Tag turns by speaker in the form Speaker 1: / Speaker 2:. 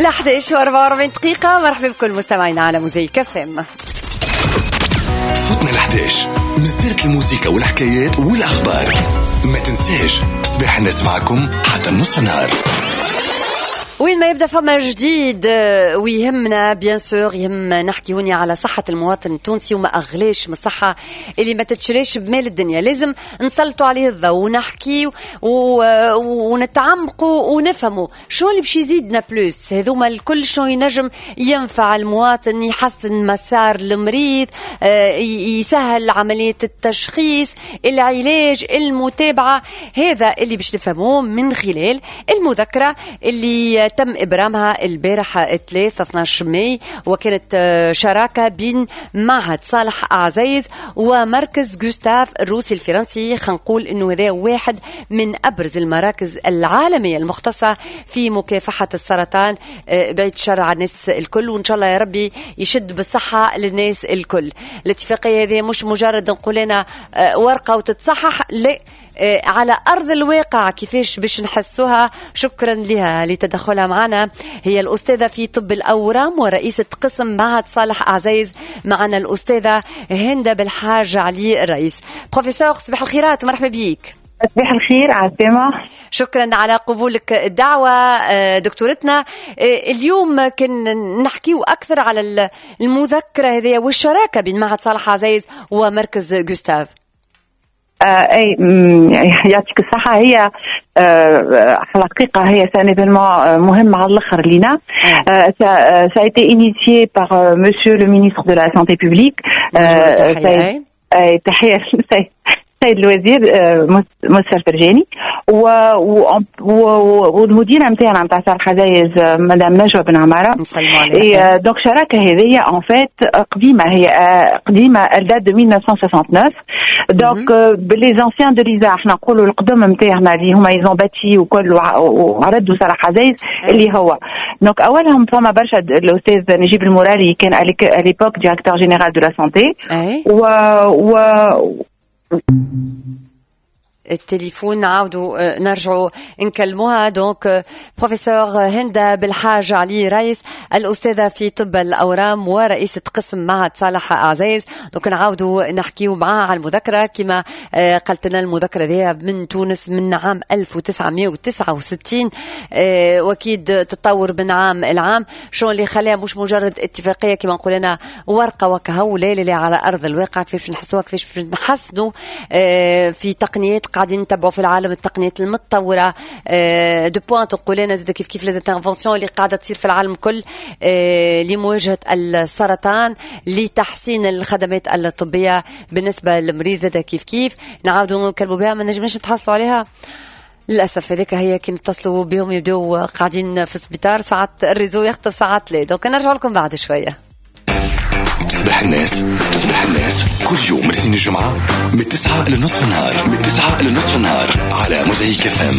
Speaker 1: ل 11 و44 دقيقة. مرحبا بكل مستمعينا على موزايك FM.
Speaker 2: فتنا ل 11، مازالت الموسيقى والحكايات والاخبار. ما تنساش، صباح الناس معكم حتى نص النهار.
Speaker 1: وين ما يبدا فما جديد ويهمنا، bien sûr يهم نحكي هوني على صحة المواطن التونسي، وما أغلاش من الصحة اللي ما تتشريش بمال الدنيا. لازم نسلطوا عليه الضوء ونحكي ونتعمقوا ونفهموا شنو اللي باش يزيدنا plus. هذوما الكل شنو ينجم ينفع المواطن، يحسن مسار المريض، يسهل عملية التشخيص، العلاج، المتابعة. هذا اللي باش نفهموه من خلال المذكرة اللي تم إبرامها البارحة 3 12 ماي، وكانت شراكة بين معهد صالح عزيز ومركز جوستاف الروسي الفرنسي. خلينا نقول انه هذا واحد من ابرز المراكز العالمية المختصة في مكافحة السرطان. بعيد الشر على الناس الكل، وان شاء الله يا ربي يشد بالصحة للناس الكل. الاتفاقية هذه مش مجرد نقول انا ورقة وتتصحح، لا، على ارض الواقع كيفاش باش نحسوها. شكرا لها لتدخلها معنا، هي الاستاذة في طب الاورام ورئيسه قسم معهد صالح عزيز، معنا الاستاذة هندة بالحاج علي الرئيس. بروفيسور، صباح الخيرات، مرحبا بيك.
Speaker 3: صباح الخير، عسلامة.
Speaker 1: شكرا على قبولك الدعوة دكتورتنا. اليوم كان نحكيو أكثر على المذكرة هذه والشراكة بين معهد صالح عزيز ومركز جوستاف.
Speaker 3: اي، يعطيك الصحة. هي الحقيقة هي c'est un événement مهم على الاخر لينا. ça a été initié par monsieur le ministre de la santé publique. تحية السيد الوزير منصف الفرجاني والمديره نتاعنا نتاع صالح عزايز، مدام نجوى بن عماره.
Speaker 1: نسلموا عليها.
Speaker 3: donc الشراكة هذه en fait قديمه، هي قديمه، elle date de 1969. donc les anciens de l'ISA، احنا نقولوا القدم نتاعنا اللي هما ils ont bâti وكل وردوا صالح عزايز اللي هو donc اولهم فما برشا، الاستاذ نجيب المورالي كان à l'époque directeur général de la santé و
Speaker 1: التليفون نعاودوا نرجعوا نكلموها. donc professeur هندة بالحاج علي رئيس، الأستاذة في طب الأورام ورئيسة قسم معهد صالح عزيز. donc نعاودوا نحكيو معاها على المذكرة. كما قالت لنا، المذكرة دي من تونس من عام 1969، واكيد تتطور من عام العام. شو اللي خلاها مش مجرد اتفاقية كما نقول انا ورقة وكهو؟ لا لا لا، على ارض الواقع كيفاش نحسوها، كيفاش نحسنوا في تقنيات قاعدين نتبعوا في العالم، التقنيات المتطورة de pointe، نقول انا زاد كيف كيف les interventions اللي قاعدة تصير في العالم الكل لمواجهة السرطان، لتحسين الخدمات الطبية بالنسبة للمريض زاد كيف كيف. نعاودوا نكلموا بها، ما نجمناش نتحصلوا عليها للاسف. هذيك هي، كي نتصلوا بهم يبداو قاعدين في السبيطار، ساعات ال réseau يخطف، ساعات لا. donc نرجع لكم بعد شويه.
Speaker 2: صباح الناس، صباح الناس، كل يوم من الاثنين الجمعة من 9 لنصف النهار، من 9 لنصف النهار، على موزايك FM.